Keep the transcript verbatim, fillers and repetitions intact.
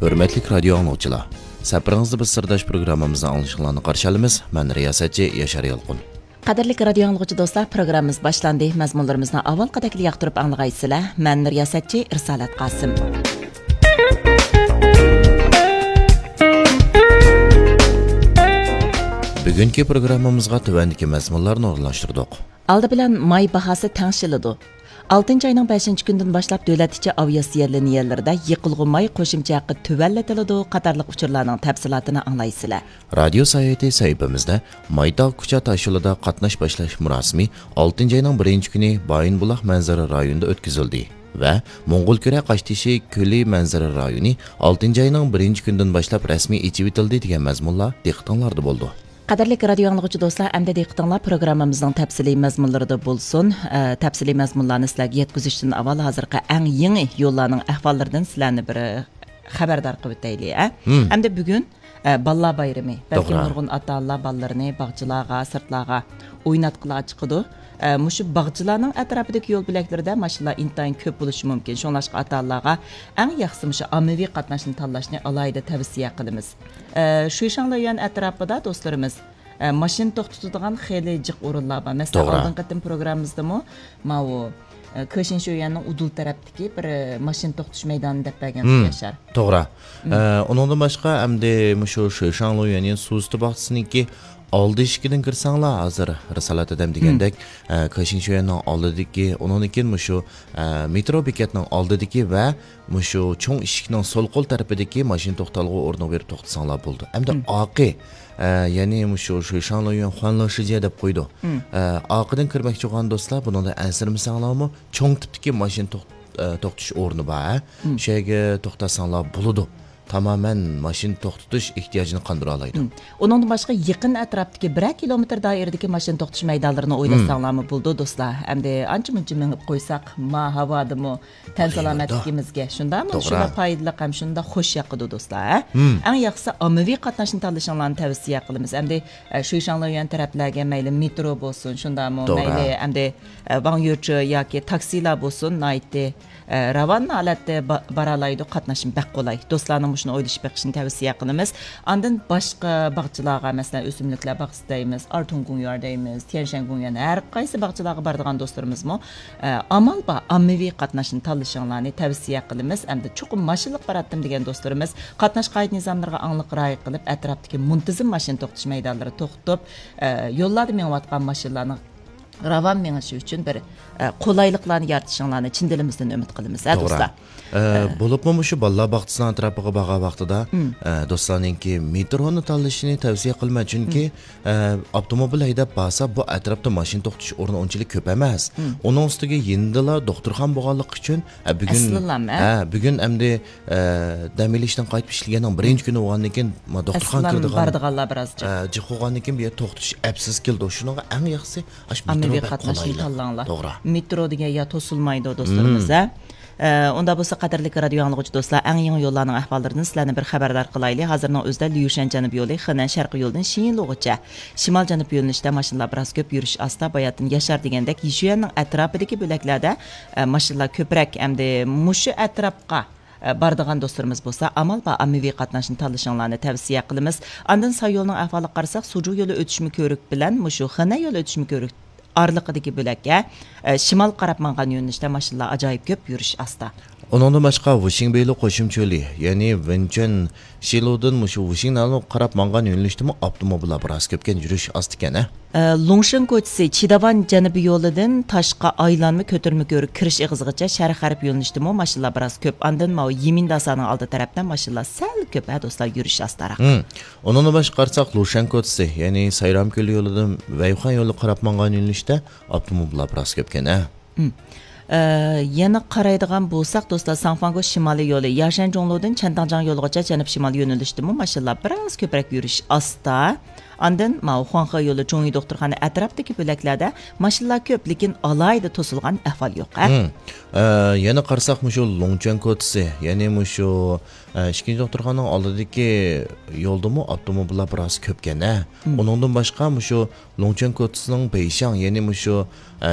ھۆرمەتلىك رادىيو ئاڭلىغۇچىلار، سەپىرىڭىزدە بىز سىرداش پروگراممىمىزنى ئاڭلىشىڭلارنى قارشى ئالىمىز. مەن رىياسەتچى ياشار يالقۇن. قەدىرلىك رادىيو ئاڭلىغۇچى دوستلار، پروگراممىمىز باشلاندى. مەزمۇنلىرىمىزنى ئاۋۋالقىدەكلا ياقتۇرۇپ ئاڭلىغايسىلەر. مەن رىياسەتچى ئىرسالەت قاسىم. بۈگۈنكى پروگراممىمىزغا تۆۋەندىكى مەزمۇنلارنى ئورۇنلاشتۇردۇق. ئالدى بىلەن ماي باھاسى تەڭشىلىدۇ. ئالتىنچى ئاينىڭ بەشىنچى كۈنىدىن باشلاپ دۆلەت ئىچى ئاۋىئاتسىيە لىنىيەلىرىدە يېقىلغۇ ماي قوشۇمچە ھەققى تۆۋەنلىتىلىدۇ قاتارلىق ئۇچۇرلارنىڭ تەپسىلاتىنى ئاڭلايسىلەر. رادىيو ساياھىتى سەھىپىمىزدە مايتاغ كۇچا تاشيولىدا قاتناش باشلاش مۇراسىمى ئالتىنچى ئاينىڭ بىرىنچى كۈنى بايىنبۇلاق مەنزىرە رايونىدا ئۆتكۈزۈلدى ۋە موڭغۇلكۈرە قاشتېشى كۆلى مەنزىرە رايونى ئالتىنچى ئاينىڭ بىرىنچى كۈنىدىن باشلاپ رەسمىي ئېچىۋېتىلدى دېگەن مەزمۇنلار دىققىتىڭلاردا بولىدۇ. قەدىرلىك رادىيو ئاڭلىغۇچى دوستلار، ئەمدى دىققىتىڭلار پروگراممىمىزنىڭ تەپسىلىي مەزمۇنلىرىدا بولسۇن. ئە، تەپسىلىي مەزمۇنلارنى سىلەرگە يەتكۈزۈشتىن ئاۋۋال ھازىرقى ئەڭ يېڭى يوللارنىڭ ئەھۋاللىرىدىن سىلەرنى بىر خەۋەردار قىلىۋېتەيلى، ئە. مم. ئەمدى بۈگۈن، ئە، بالىلار بايرىمى. بەلكىم توغرا. نۇرغۇن ئاتا-ئانىلار بالىلىرىنى باغچىلارغا، سىرتلارغا ئويناتقىلى چىقىدۇ. ئە، مۇشۇ باغچىلارنىڭ ئەتراپىدىكى يول بۆلەكلىرىدە ماشىنىلار ئىنتايىن كۆپ بولۇشى مۇمكىن. شۇڭلاشقا ئاتا-ئانىلارغا ئەڭ ياخشىسى مۇشۇ ئاممىۋى قاتناشنى تاللاشنى ئالاھىدە تەۋسىيە قىلىمىز. ئە، شۇيشاڭليۈەن ئەتراپىدا دوستلىرىمىز، ئە، ماشىنا توختىتىدىغان خېلى جىق ئورۇنلار بار. مەسىلەن، توغرا. ئالدىنقى قېتىم پروگراممىمىزدىمۇ ماۋۇ، ئە، كېشىنشۆيۈەننىڭ ئۇدۇل تەرەپتىكى بىر، ئە، ماشىنا توختىتىش مەيدانى دەپ بەرگەنتۇق، مم. ياشار. توغرا. مم. ئە، ئۇنىڭدىن باشقا، ئەمدى مۇشۇ شۇيشاڭليۈەن، يەنى سۇ ئۈستى باغچىسىنىڭكى ئالدى ئىشىكىدىن كىرسەڭلار، ھازىر رىسالەت ھەدەم دېگەندەك، مم. ئە، كېشىنشۆيەننىڭ ئالدىدىكى، ئۇنىڭدىن كېيىن مۇشۇ، ئە، مېترو بېكەتنىڭ ئالدىدىكى ۋە مۇشۇ چوڭ ئىشىكنىڭ سول قول تەرىپىدىكى ماشىنا توختالغۇ ئورنىغا بېرىپ توختىساڭلار بولىدۇ. ئەمدى مم. ئارقا، ئە، يەنى مۇشۇ شۇيشاڭليۈەن خۇەنلېشىجيە دەپ قويىدۇ. مم. ئە، ئارقىدىن كىرمەكچى بولغان دوستلار، بۇنىڭدا ئەنسىرىمىسەڭلارمۇ، چوڭ تىپتىكى ماشىنا توخ-، ئە، توختىتىش ئورنى بار، ھە؟ مم. شۇ يەرگە توختاتساڭلار بولىدۇ. تامامەن ماشىنا توختىتىش ئېھتىياجىنى قاندۇرالايدۇ. مم. ئۇنىڭدىن باشقا يېقىن ئەتراپتىكى بىرەر كىلومېتىر دائىرىدىكى ماشىنا توختىتىش مەيدانلىرىنى مم. ئويلاشساڭلارمۇ بولىدۇ، دوستلار. ئەمدى ئانچە-مۇنچە مېڭىپ قويساق، ما ھاۋادىمۇ تەن سالامەتلىكىمىزگە شۇنداقمۇ؟ توغرا. شۇنداق پايدىلىق ھەم شۇنداق خوش ياقىدۇ، دوستلار، ھە؟ مم. ئەڭ ياخشىسى ئاممىۋى قاتناشنى تاللىشىڭلارنى تەۋسىيە قىلىمىز. ئەمدى، ئە، شۇيشاڭليۈەن تەرەپلەرگە مەيلى مېترو بولسۇن، شۇنداقمۇ؟ توغرا. مەيلى ئەمدى، ئە، ۋاڭيۈچې ياكى تاكسىلار بولسۇن، ناھايىتى ئە، راۋان ھالەتتە با-، بارالايدۇ، قاتناشمۇ بەك قولاي. دوستلارنىڭ مۇشۇنى ئويلىشىپ بېقىشىنى تەۋسىيە قىلىمىز. ئاندىن باشقا باغچىلارغا، مەسىلەن، ئۆسۈملۈكلەر باغچىسى دەيمىز، ئارتۇڭ گۇڭيار دەيمىز، تيەنشەن گۇڭيار، ھەر قايسى باغچىلارغا بارىدىغان دوستلىرىمىزمۇ، ئە، ئامال بار ئاممىۋى قاتناشنى تاللىشىڭلارنى تەۋسىيە قىلىمىز. ئەمدى چوقۇم ماشىنىلىق باراتتىم دېگەن دوستلىرىمىز قاتناش قائىدە نىزاملىرىغا ئاڭلىق رىئايە قىلىپ، ئەتراپتىكى مۇنتىزىم ماشىنا توختىتىش مەيدانلىرىدا توختىتىپ، ئە، يوللاردا مېڭىۋاتقان ماشىنىلارنىڭ راۋان مېڭىشى ئۈچۈن بىر، ئە، قولايلىقلارنى يارىتىشىڭلارنى چىن دىلىمىزدىن ئۈمىد قىلىمىز، ھە، توغرا. دوستلار؟ ئە، ئە. بولۇپمۇ مۇشۇ بالىلار باغچىسىنىڭ ئەتراپىغا بارغان ۋاقتىدا، مم. ئە، دوستلارنىڭكى مېترونى تاللىشىنى تەۋسىيە قىلىمەن، چۈنكى، مم. ئە، ئاپتوموبىل ھەيدەپ بارسا، بۇ ئەتراپتا ماشىنا توختىتىش ئورنى ئۇنچىلىك كۆپ ئەمەس. مم. ئۇنىڭ ئۈستىگە يېنىدىلا دوختۇرخانا بولغانلىقى ئۈچۈن، ئە، بۈگۈن، ئەسلىنلام، ھە؟ ھە، بۈگۈن ئەمدى ئە، دەم ئېلىشتىن قايتىپ ئىشلىگەننىڭ بىرىنچى كۈنى بولغاندىن كېيىن، ما، دوختۇرخانىغا ئەسلىدىن كىرىدىغان، بارىدىغانلار بىراز جىق. ئە، جىق بولغاندىن كېيىن بۇ يەر توختىتىش ئەپسىز كېلىدۇ. شۇنىڭغا ئەڭ ياخشىسى ئاشۇ مېترو ئاممىۋى بەك قاتناشنى قولايلىق. تاللاڭلار. توغرا. مېترو دېگەن يا توسۇلمايدۇ، دوستلىرىمىز، مم. ھە؟ ئە، ئۇندا بولسا قەدىرلىك رادىيو ئاڭلىغۇچى دوستلار، ئەڭ يېڭى يوللارنىڭ ئەھۋاللىرىدىن سىلەرنى بىر خەۋەردار قىلايلى. ھازىرنىڭ ئۆزىدە ليۇشەن جەنۇبىي يولى، خېنەن شەرقىي يولىدىن شىنلۇغىچە شىمال جەنۇب يۆنىلىشتە ماشىنىلار بىراز كۆپ، يۈرۈش ئاستا. باياتىن ياشار دېگەندەك، يىشۈەننىڭ ئەتراپىدىكى بۆلەكلەردە، ئە، ماشىنىلار كۆپرەك. ئەمدى مۇشۇ ئەتراپقا ئە، بارىدىغان دوستلىرىمىز بولسا، ئامال بار ئاممىۋى قاتناشنى تاللىشىڭلارنى تەۋسىيە قىلىمىز. ئاندىن ساي يولىنىڭ ئەھۋالىغا قارىساق، سۇجۇ يولى ئۆتۈشمە كۆۋرۈك بىلەن مۇشۇ خېنەن يولى ئۆتۈشمە كۆۋرۈك ئارىلىقىدىكى بۆلەككە، ئە، شىمالغا قاراپ ماڭغان يۆنىلىشتە ماشىنىلار ئاجايىپ كۆپ، يۈرۈش ئاستا. ئۇنىڭدىن باشقا، ۋۇشىڭبېيلۇ قوشۇمچە يولى، يەنى ۋېنچۈەن شىلۇدىن مۇشۇ ۋۇشىڭنانغا قاراپ ماڭغان يۆنىلىشتىمۇ ئاپتوموبىللار بىراز كۆپكەن، يۈرۈش ئاستىكەن، ھە؟ ئە، لۇڭشېن كوچىسى، چىداۋان جەنۇبىي يولىدىن تاشقا ئايلانما كۆتۈرمە كۆۋرۈك كىرىش ئېغىزىغىچە شەرق غەرب يۆنىلىشتىمۇ ماشىنىلار بىراز كۆپ. ئاندىن ماۋۇ يىمىنداسانىڭ ئالدى تەرەپتە ماشىنىلار سەل كۆپ، ھە، دوستلار، يۈرۈش ئاستاراق. ھىم. ئۇنىڭدىن باشقا قارىساق، لۇشەن كوچىسى، يەنى سايرامكۆل يولىدىن ۋەيخۇەن يولىغا قاراپ ماڭغان يۆنىلىشتە ئاپتوموبىللار بىراز كۆپكەن، ھە؟ مم. ئە، يەنە قارايدىغان بولساق، دوستلار، ساڭفاڭگو شىمالىي يولى، ياشەن جۇڭلۇدىن چەنتاڭ جاڭ يولىغىچە جەنۇب شىمال يۆنىلىشتىمۇ ماشىنىلار بىراز كۆپرەك يۈرۈش ئاستا. ئاندىن ماۋۇ خۇاڭخې يولى، جۇڭيى دوختۇرخانا ئەتراپىدىكى بۆلەكلەردە ماشىنىلار كۆپ، لېكىن ئالاھىدە توسۇلغان ئەھۋال يوق، ھە؟ مم. ئە، يەنە قارىساق، مۇشۇ لۇڭچۈەن كوچىسى، يەنى مۇشۇ، ئە، ئىككىنچى دوختۇرخانىنىڭ ئالدىدىكى يولدىمۇ ئاپتوموبىللار بىراز كۆپكەن، ھە؟ مم. ئۇنىڭدىن باشقا، مۇشۇ لۇڭچۈەن كوچىسىنىڭ بېيشاڭ، يەنى مۇشۇ، ئە،